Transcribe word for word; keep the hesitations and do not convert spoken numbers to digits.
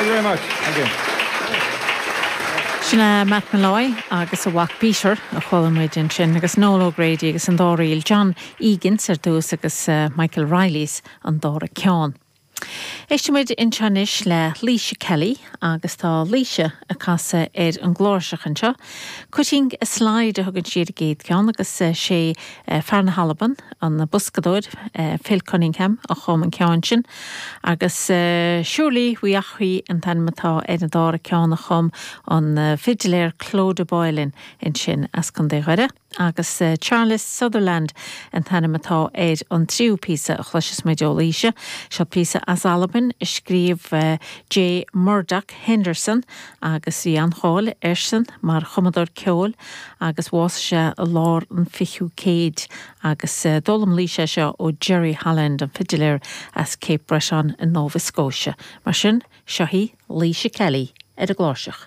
Thank you very much. Thank you. Sin é Matt Molloy agus a mhac Peter a chuala muid ansin agus Noel O'Grady agus an dá ríl John Egan ar dtús agus uh, Michael Riley's an dara ceann. Éistfimid anois le Laoise Kelly agus tá Laoise ag casadh ar an gcláirseach anseo. Cutting a Slide a thugann sí ar an gcéad cheann agus sé fear na hAlban an boscadóir Phil Cunningham a chum an ceann sin, agus Surely We Achrí an t-ainm atá ar an dara ceann a chum an fidiléir Clodagh Boylan ansin as Contae Dhoire. agus Charles Sutherland an t-ainm atá ar an tríú píosa a chloisfidh muid ó Laoise, seo píosa as Albain a scríobh J. Murdoch Henderson agus bhí an-cháil airsean mar chumadóir ceoil agus bhásaigh sé i lár an fichiú céid agus d'fhoghlaim Laoise seo ó Jerry Holland an fidiléir as Cape Breton in Nova Scotia. Mar sin seo í Laoise Kelly ar an gcláirseach.